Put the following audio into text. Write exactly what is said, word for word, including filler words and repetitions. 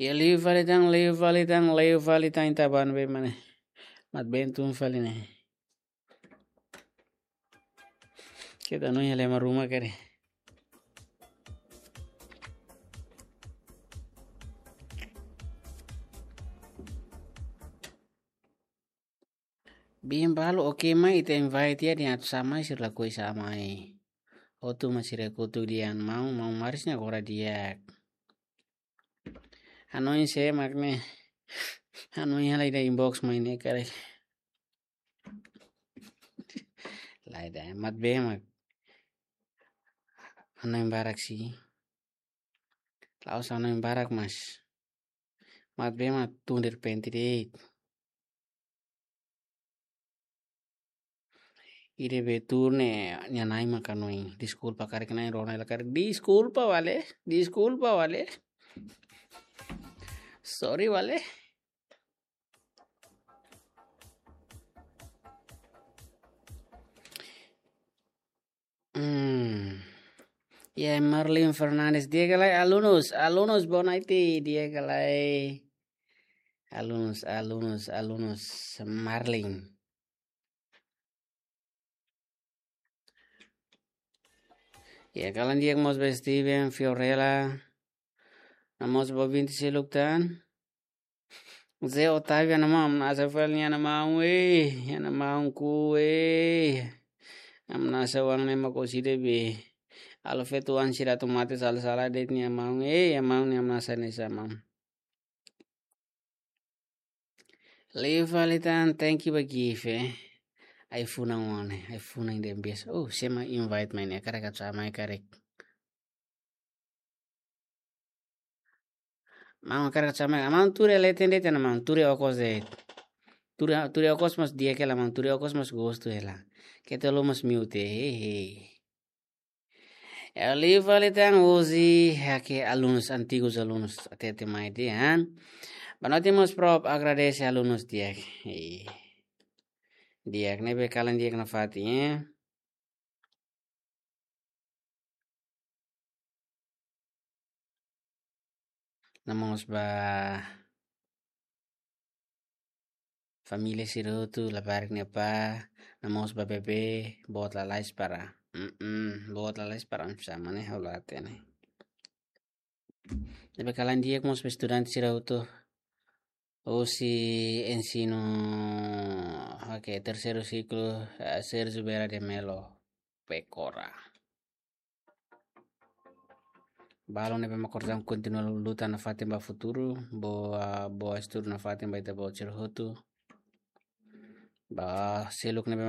Ya, liu fali tan, liu fali tan, liu fali tan, ita bá ne'ebé mak ne'e. Mat-been tun fali ne'e. Keta no ya lema ruma kere. Bin balu oke mai ita invite ya, dehan atu sa'e mai sira lakohi sa'e mai. Hotu mak sira kotuk dehan maun, maun Maris ne'e agora di'ak. Hanoin sé mak ne'e. Hanoin hela ida inbox mai ne'e karik. Lae, ida mat-been mak. Hanoin barak sih. La'ós hanoin barak mas. Mat-been mak tun derrepente de'it. Ida be tuur ne'e nia nain mak hanoin. Deskulpa karik, nain rona hela karik. Deskulpa wale, deskulpa wale. Sorry wale. Hmm. Ya, Marlin Fernandes, di'ak ka lae, alunus, alunus, boa noite, di'ak ka lae. Alunus, alunus, alunus, Marlin. Ya, kalan di'ak mós ba Steven, Fiorella. Namós ba ouvinte seluk tan. Zé Otávio, ha'u-nia maun, ha'u-nia maun, eh, ha'u-nia maun ku, eh. Ha'u-nia maun ne'e mak ohin ida be. Halo feto-oan sira atu mate sala-sala de'it nia maun, eh, ha'u-nia maun ne'e ha'u-nia maun ne'e sa maun. Liu fali tan, thank you ba gift, eh. Ai-funan wan ne'e, ai-funan ida biasa. Oh, sé mak invite mai ne'e, karik atu sa'e mai karik. Maun karik atu sa'e mai, maun tuur hela, tende tena maun, tuur okos de'it. Tuur, tuur okos mós di'ak hela maun, tuur okos mós gostu hela. Keta haluha mós mute, hehe. Ya, liu fali tan hosi, hakke alunus, antigus alunus, hatete mai dehan. Boa noite mós prof, agradese alunus di'ak. Eh. Di'ak ne'ebé kalan di'ak nafatin, eh. Namós ba família sira hotu, labarik nia apá, namós ba bebé, boot lalais para. Mm-mm, boot lalais para, sama ne'e, ha'u la hatene. Ne'ebé kalan di'ak mós ba estudante sira hotu. Hosi ensinu, oke, terseiru siklu, eh, Sérgio Vieira de Mello, Pecora. Balu ne'ebé mak konsege kontinua luta nafatin ba futuru, boa, boa estudu nafatin ba ita-boot sira hotu. Ba seluk ne'ebé mak